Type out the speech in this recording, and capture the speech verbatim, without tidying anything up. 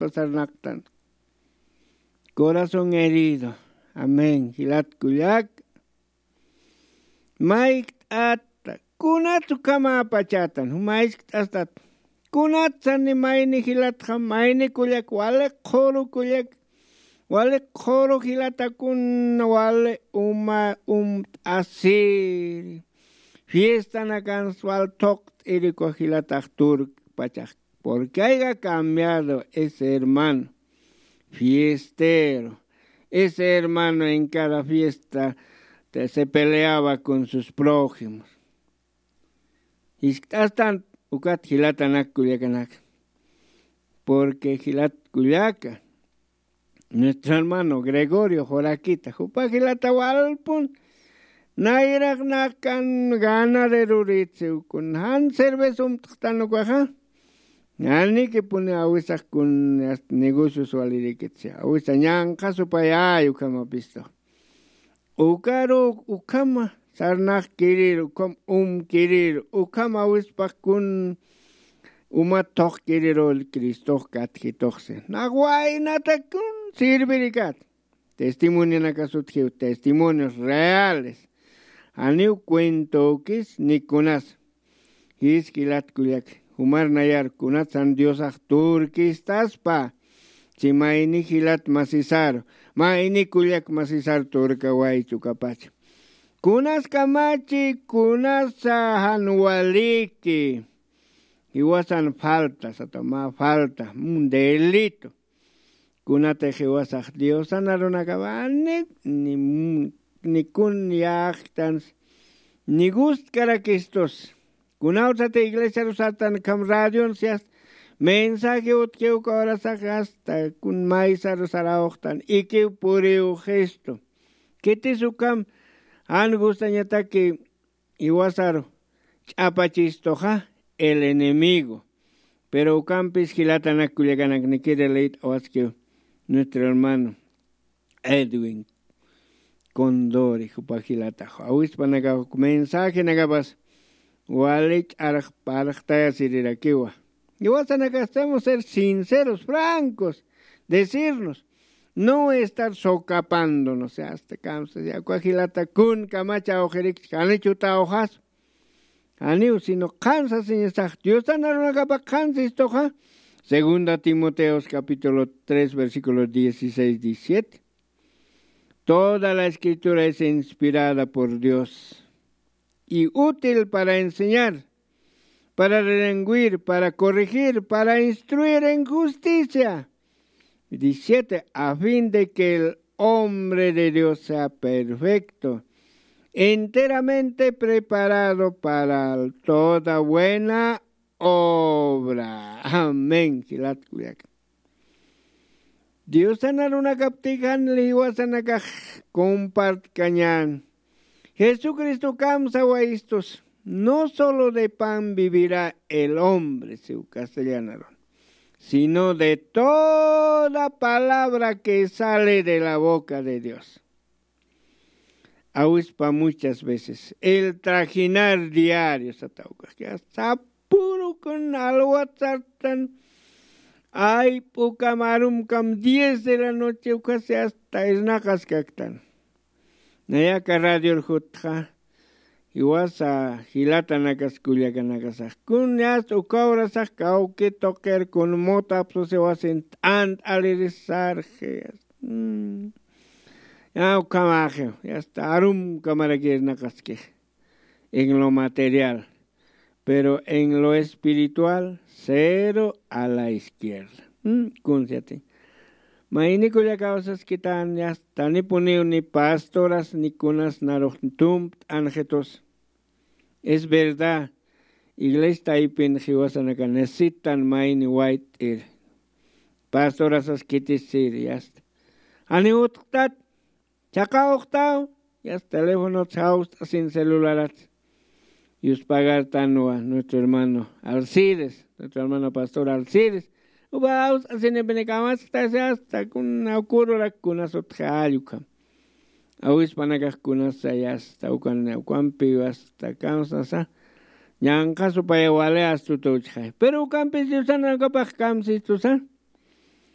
sarnaqtan. Corazón herido. Amén. Jilat kullak. Maykt'ata, kunat ukhama pachatan, jumaychkt'astat. Kunat sani mayni jilatxa, mayni kullak, wali qhuru kullak, wali qhuru jilatakun, wali uma umt'asiri. Fiestanakan wal thuqt'iri uka jilatax turk pachax. Porque haya cambiado ese hermano fiestero. Ese hermano en cada fiesta te- se peleaba con sus prójimos. Jiskt'astan ukat jilatanak kullakanaka. Porque jilat kullaka, nuestro hermano Gregorio Joraquita, jupa jilata walpun, nayraq nakan ganaderoritsi ukun, jan cerveza umt'xtan ukaxa, janikipuni awisax kun negocios walirikitsi, awisa ñanqha supayay ukhamapistu. Ukaru ukhama sarnaqkirir, ukham umkirir, ukham awispax kun uma thuqkirirul Cristox katjituxsi. Nax waynatakun sirvirikat. Testimonionakasutjiw, testimonios reales. Janiw cuentokis ni kunas. Jis jilat kullak, jumar nayar kunatsan Diosax turkistaspa, si mayni jilat masisaru, mayni kullak masisaru turkawaychu ukapacha. Kunas kamachi, kunasa jan waliki, jiwasan falta, sata mä falta, un delito. Kunatix jiwasax Diosan arunakapa ni, ni, ni kun yaqtans, ni gustkarakistus. Kunawsati iglesiaru sartan ukham radion siyas mensaje utjiw uka horasax hasta kun maysaru sarawxtan ikiw puriw gesto. Khitis ukham jan gustañataki jiwasaru ch'apachistuxa el enemigo. Pero ukampis jilatanak kullakanak nikiri leyt'awaskiw nuestro hermano Edwin Condori, jupa jilatax. Awispanakax mensajenakapas wali ch'arxparxtayasirirakiwa. Jiwasanakax tenemos ser sinceros, francos, decirnos, no estar socapándonos, hasta kamsa, ya, uka jilata kun kamacha awqirikchi, janichu tawxas. Janiw, sino qhan sasiñasax, Diosan arunakapa qhan sistuxa. Segunda Timoteos capítulo tres, versículo dieciséis, diecisiete. Toda la escritura es inspirada por Dios y útil para enseñar, para redargüir, para corregir, para instruir en justicia. Diecisiete, a fin de que el hombre de Dios sea perfecto, enteramente preparado para toda buena obra. Amén. Jilat kullaka. Diosan arunakaptix jan jiwasanakax compartkañän. Jesucristo kamsawayistus, no solo de pan vivirá el hombre, siw castellanarun, sino de toda palabra que sale de la boca de Dios. Awispa muchas veces, el trajinar diario, sata ukax, ya, sapürukun alwat sartan, ayp'ukam, arumkam, diez de la noche, ukasi hasta irnaqaskaktan. Nayaka radior jutxa, jiwasa jilatanakas kullakanakasax. Kun yasta uka horasax kawki tuqir kun mota apsusiwasin t'ant'alirisarxi. Mm. Ya ukhamaxiw, yasta arumkamarakirnaqaskix. En lo material. Pero en lo espiritual, cero a la izquierda. Mm, kunsiyati. Mayni kullaka kawsaskitan, yasta, ni puniw ni pastoras, ni kunas narux tumpt'anxitus. Es verdad, iglesia taypin jiwasanaka necesitan mayni wayt'ir. Pastoras askitisir, yasta. Jani utjtat, chaqawxtaw, yasta, teléfonots jawst'asin, celularats. Yuspagartanwa nuestro hermano Alcides, nuestro hermano pastor Alcides. Uba jawst'asinipinikamas, hasta, hasta, kuna kururak kunas utji allukam. Awispanakax kunasa, yasta, ukan, ukampi, yasta, kamsasa. Ñanqha supaya wali astuta uchxay. Pero ukampis Diosanakapax kamsistusa.